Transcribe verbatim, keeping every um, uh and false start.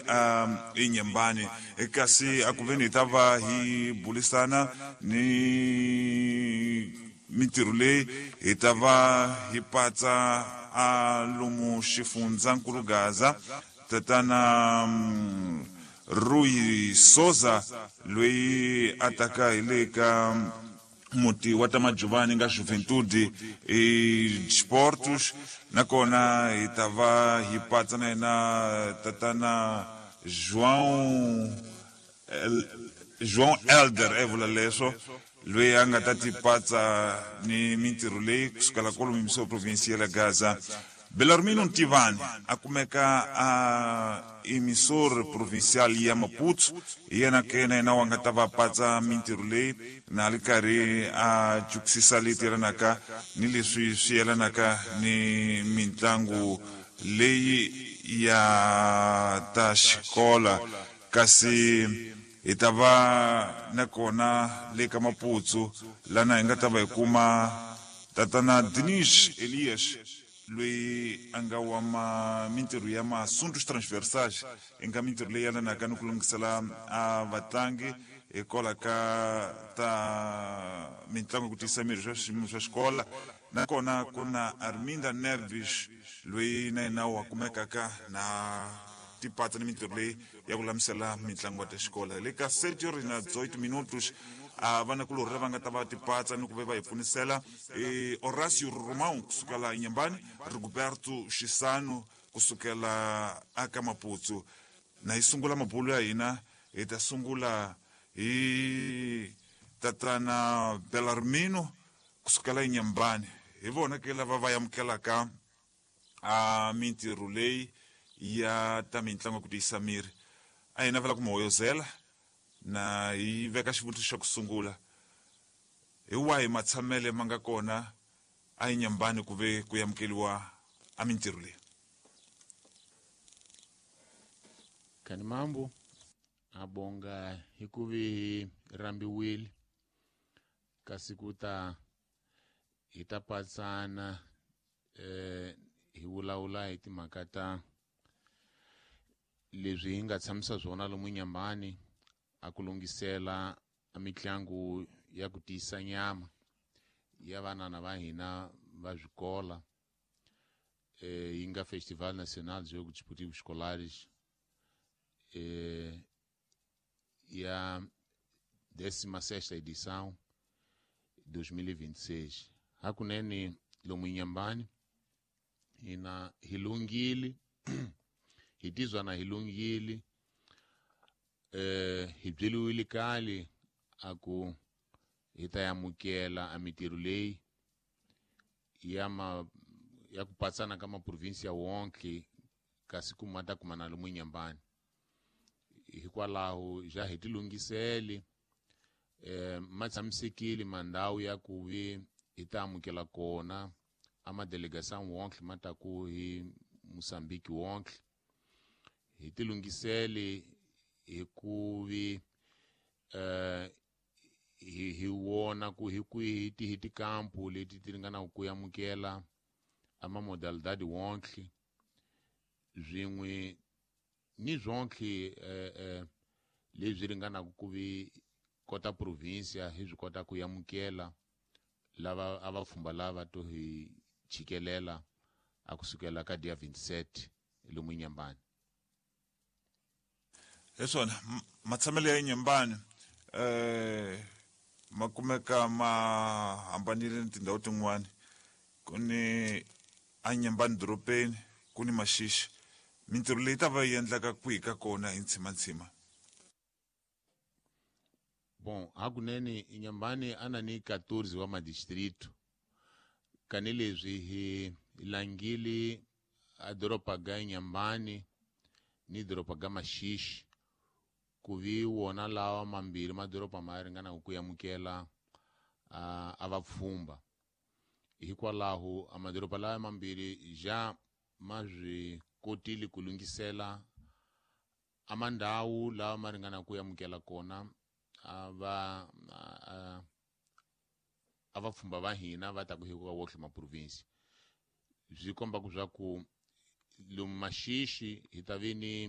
a Inhambane kasi a ku veni hi ta va hi bulisana ni mintirho leyi hi ta va hi patsa a lomu xifundzankulu Gaza tatana Rui Souza loyi a taka hi le ka muti wa ta Majuvani nga Juventude e Sportos nakona hi ta va hi patsa na yena tatana João João Elder e vula leswo loyi a nga ta ti patsa ni mintirho leyi kusukela kwalomu mimiso provinsia ya Gaza. Belarmino Ntivani a kumeka a emissor provincial ya Maputo, yena ke na yena wa nga ta va patsa mintirho leyi na ri karhi a jukisisa leyi yelanaka ni leswi swi yelanaka ni mitlangu leyi ya ta xikola. Kasi hi ta va nakona le ka Maputo lana hi nga ta va hi kuma tatana Dinis Elias loyi a nga wa ma mintirho ya masuntos transversais i nga mintirho leyi yelanaka ni ku lunghisela a vatlangi hikwalaho ka ta mitlangu ku tiyisa miri swa swiyimo swa xikola. Nakona ku na Arminda Neves loyi na yena wa kumekaka na tipatsa ni mintirho leyi ya ku lamisela mitlangu ya ta xikola. Le ka sete horas na dezoito minutos a vana kulorhi lava nga ta va tipatsa ni ku ve va hi pfunisela e Horácio Romão kusukela Inhambane, Rigoberto Xisano kusukela aka Maputo. Na hi sungula mabulo ya hina hi ta sungula hi tatana Belarmino kusukela Inhambane. Hi vona ke lava va amukelaka a mintirho leyi ya ta mitlangu ku tiyisa miri. A hi navela ku mi hoyozela na hi veka xivutiso xa ku sungula, hi wahi matshamele ma nga kona a Inhambane ku ve ku amukeliwa a mintirho leyi? Kani mambo abonga hikuvi rambiwile kasi ku ta hi ta patsana eh hi vulavula hi timhaka ta leswi hi nga tshamisa swona lomu Inhambane a ku lunghisela a mitlangu ya ku tiyisa nyama ya vanana va hina va swikola eh yi nga Festival Nacional de Jogos Desportivos Escolares eh ya décima sexta edição dois mil e vinte e seis. Hakunene lomu Inhambane hina hi lunghile hi tizwa na hi lunghile eh hi byeliwile kale a ku hi ta amukela a mintirho leyi ya ma ya ku patsana ka maprovinsia wonke kasi ku ma ta kuma na lomu Inhambane. Hikwalaho ja hi ti lunghisele eh ma tshamisekile mandhawu ya ku vi hi ta amukela kona a madelegação wonke ma ta ku hi Moçambique wonke. Hi ti lunghisele hi ku vi eh hi hi wona ku hi kwihi ti hi tikampu leti ti ringanaka ku amukela a ma modalidade wonke swin'we ni swonke eh eh leswi ringanaka ku vi kota provinsia hi swi kota ku amukela lava a va pfhumba lava to hi chikelela a kusukela ka dia vinte e sete lomu Inhambane. Hi swona matshamelo ya Inhambane eh ma kumeka ma hambanile ni tindhawu tin'wani. Ku ni a Inhambane dorobeni, ku ni Maxixi. Mintirho leyi ta va yi endlaka kwihi ka kona hi ntshimantsima? Bom, hakunene Inhambane ana ni quatorze wa madistrito. Kani leswi hi langile a doroba ga Inhambane ni doroba ga Maxixi ku vi wona lawa mambirhi madoroba ma ringanaka ku amukela a a vapfhumba. Hikwalaho a madoroba lawa mambirhi ja ma swi kotile ku lunghisela a mandhawu lawa ma ringanaka ku amukela kona a va a a vapfhumba va hina va ta ku hi ka wohle ma province. Swi komba ku swa ku lomu Maxixi hi ta vi ni